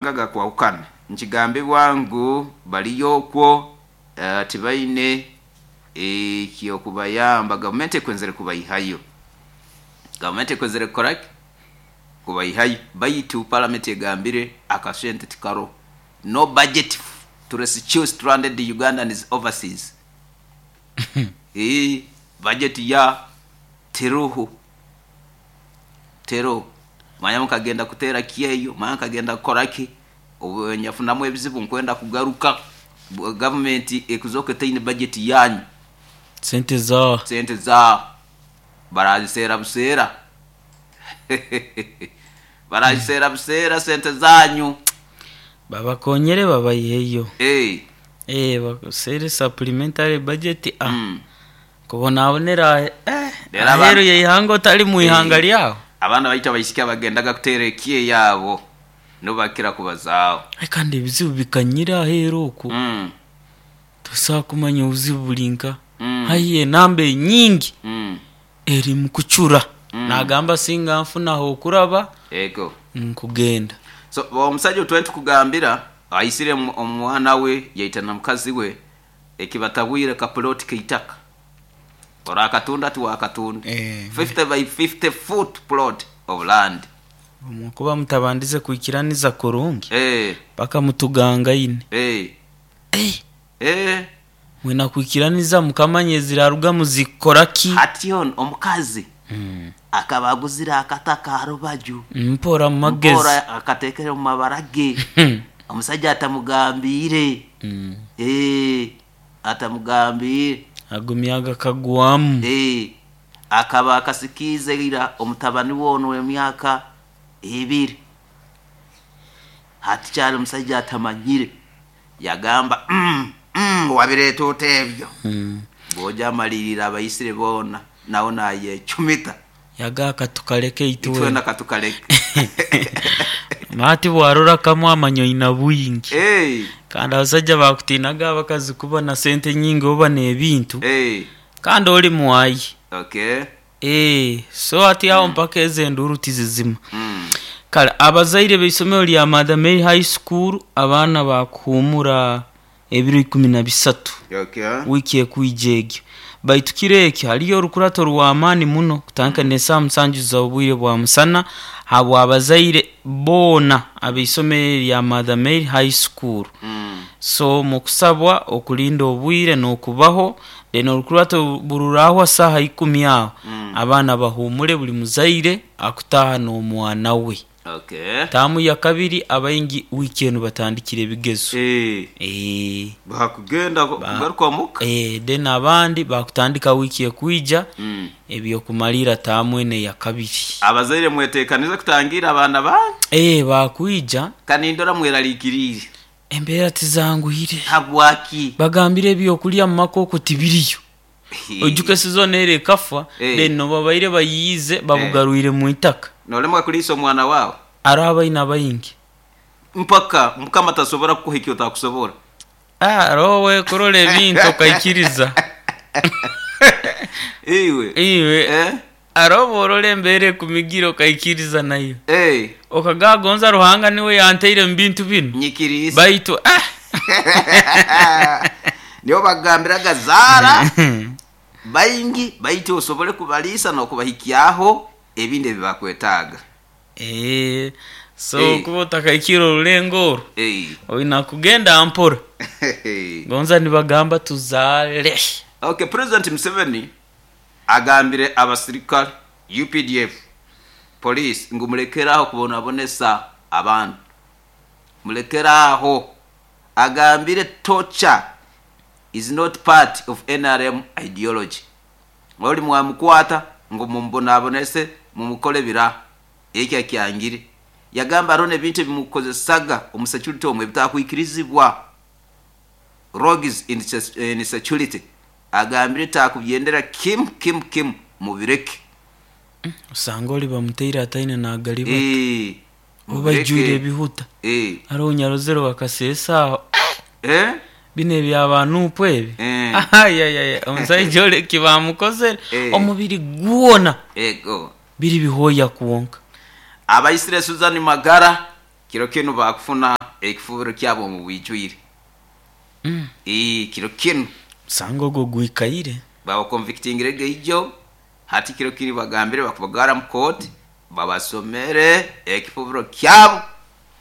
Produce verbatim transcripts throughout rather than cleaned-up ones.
Gakwahukana nkigambibwa ngu baliyo okwo eh, tibaine ekyokubayamba. Gavumenti ekwenzere kubayihayo, gavumenti ekwenzere kukoraki kubayihayo, baitu palamenti egambire akasente tikaroho, no budget to rescue stranded Ugandans overseas. Eeh, budget ya teroho, teroho. Manya mukagenda kuteera kyeyo, manya nkagenda kukoraki, obu nyafunamu ebizibu nkwenda kugaruka, bu- gavumenti ekuzooka etaine budget yanyu. Sente za sente za baraziseera buseera, baraziseera buseera sente zanyu. Babakonyere babayiheyo. Eh, eh baseere supplementary budget ah mm. kubonabonera eh, Rero aheru abana- yeihanga otali mu ihanga Eh. lyawo. Abaana baitu abaisiki abagendaga kuteera ekiye yaabo nibakira kubazaaho. Ai, kandi ebizibu bikanyira aheru oku mm. tosobola kumanya obuzibu buli nka Mm. haihi enamba enyingi mm. eri mukucura. Mm. Nagamba singa nfunaho okuraba Ego. nkugenda. So omusajja otwali tukugambira aisire omu- omwana we yaita na mukazi we, ekibatabwire kapuloti keitaka orakatunda tiwakatunda. Eh. fifty by fifty foot plot of land. Kuba mutabandize kwikiraniza kurungi eh, paka mutugangaine. eh, Eh, eh. mwina kwikiraniza mukamanya eziraruga muzikora ki. Hati ono omukazi Mm. akaba aguzire akataka harubaju. Mpora mu magezi. Mpora akatekere mu mabara ge, omusajja atamugambire. Mm. Eh, atamugambire. Agumyaga kagwamu. Eh, akaba akasikiize ira omutabani wono w'emyaka ebiri. Hati kyali omusajja atamanyire, yagamba mm, mm, wabireeta ota ebyo? Mm. Bwoja amalirira abayisire boona nawe nayecumita. Yagaka tukaleke Itwena itwena. Katukaleke. Mati bwarora kamwe amanyo ina bwingi. Eh, kandi abasajja bakutinaga abakazi kuba na sente nyingi oba n'ebintu. Eh, kandi oli mwayi. Okay. Eh, so ati aho mpaka ezo enduru tizizima. mm. Kale abazaire b'eisomero lya Mother Mary High School, abaana bakuhumura ebiro ikumi na bisatu okay wiiki ekwija egyo, baitu kiro ekyo haliyo orukurato rw'amaani muno kutandika n'esaaha musanju z'obwire bwa musana habwa abazaire boona ab'eisomero lya Mother Mary High School. mm. So mukusabwa okulinda obwire n'okubaho, then orukurato bururahwa saaha ikumi aho. Mm. Abaana bahumure, buli muzaire akutaaha n'omwana we. Okay taamu ya kabiri abaingi wiiki enu batandikire ebigezo. Eh, Eh, bakugenda kugaruka omuka. eh, then abandi bakutandika wiiki ekwija Mm. ebyokumalira taamu ene ya kabiri. Abazaire mwetekanize kutangira abaana banyu. Eh, bakwija. Kanindora mweraliikiriire. Embeera tizanguhire. Habwaki? Bagambire ebyokulya mu maka okwo tibiriyo, ojuke sizoni ere ekafa. Eh. Then nobabaire bayiize babugarwire mu itaka. Nolemwa kuliisa omwana waawe. Ari abaina baingi. Mpaka mukama tasobora kukuha ekyo otakusobora. Ah, roho wekurora ebintu okaikiriza. Iwe. Iwe. Eh? Aroho borora embeera ekumigira okaikiriza nayo. Eh, okagagonza Ruhanga niwe yanteire mu bintu binu. Nyikiriisa. Baitu ah! Nibo bagambiraga zaara baingi, baitu osobole kubaliisa n'okubahikyaho ebindi ebibakwetaaga. Eh, so Eh. kuba otakaikira orulengo oru Eh. oina kugenda mpora. Gonza nibagamba tuzaale. Okay, President Museveni agambire abasirikale, U P D F, police ngu mulekeraho kubonabonesa abantu, mulekeraho. Agambire torture is not part of N R M ideology. Oli mwamukwata ngu mumubonabonese, mumukole bira, ekyo akyangire. Yagamba hariho n'ebintu ebimukozesaga omu security omwe ebitakwikirizibwa, rogues in, se- in security. Agambire takubyendera kim kim kim, mubireke. Osanga oli bamuteire ataine nagaliba. Eh, obajjwire mubireke. ebihuta. Eh, hariho nyarozero bakaseesa aho. Eh, bino ebyabanuupu ebi. Eh. Ayayaya, omusaija oleki bamukozere. Eh. Omubiri gwona ego biri bihooya kwonka. Abaisire Susan Magara. Kiro kinu bakufuna ekifubiro kyabo mu bwijwire. Mm. Ii kiro kinu Musango ogwo gwikaire. Babaconvictingire geijo hati kiro kiri bagambire bakubagara mu court babasomere ekifubiro kyabo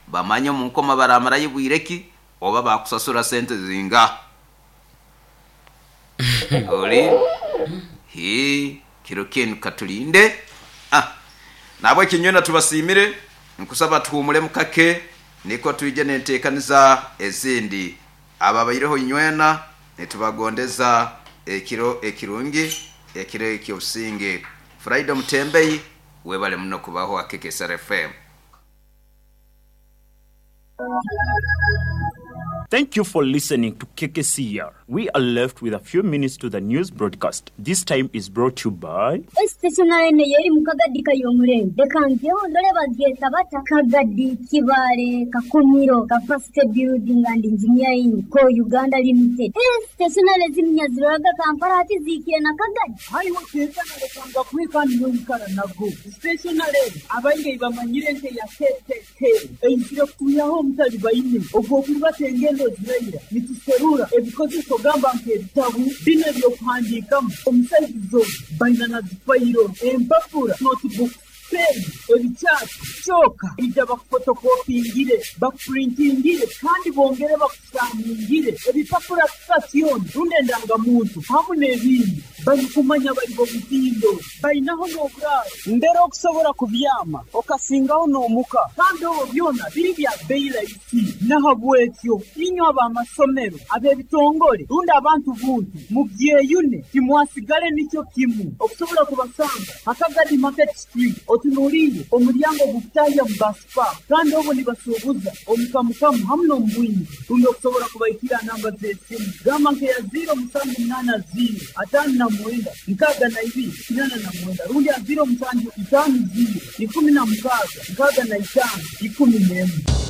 bamanye omu nkoma baramarayo bwireki oba bakusasura sente zinga. Oli hi kiro kinu katulinde. Ah, nabwe kinywena tubasimire nkusaba tuhumule mukake niko tuije nentekaniza ezindi ababaireho inywena nitubagondeza ekiro ekirungi ekiro ekyobusinge. Friday Mutembei webale muno kubaho akeke S R F M. Thank you for listening to K K C R. We are left with a few minutes to the news broadcast. This time is brought to you by Stationary ne yeri mukagadi kayomure. Dekanzeo ndole bagyeta bata Kagadi Kibale Kakumiro Capacity Building and Engineering Co Uganda Limited. Stationary ziminyaziraga Kampala ati zikire na Kagadi. Haiwo keza na lekanga kwika niyo nago. Stationary abaire bamanyire nte ya K K K. Einzire kuyaho mutali bayine. Ogwo kubatenge ngendo ziraira nituserura ebikozeso gamba nk'ebitabu bino ebyokuhandiikamu omusaizizo baina na zifayiro empapura notebook pen ebikyapa kyoka ija bakufotokopingire bakupurintingire kandi bongere bakusaningire ebipapura sitasioni rundi endangamuntu hamu n'ebindi barikumanya bari bo butindo bainaho n'oburaaro mbere okusobola kubyama okasingaho n'omuka kandi obwo byona biri bya bbeeyi rahisi. Nahabwekyo inywe ab'amasomero ab'ebitongole rundi abantu buntu mubyeyune timwasigale nikyo kimu okusobola kubasanga Akagadi Market Street otunuulire omulyango gukutahya mu basipa kandi obwo nibasuubuza omukamukamu hamu n'omubwingi rundi okusobola kubaikira namba z'esimu gamba nkeya ziro musanju munaana ziro ataano na mwenda nkaaga na ibiri kinana na mwenda rundi ya ziro musanju itaano ziro ikumi na mukaaga nkaaga na itaano ikumi n'emwe.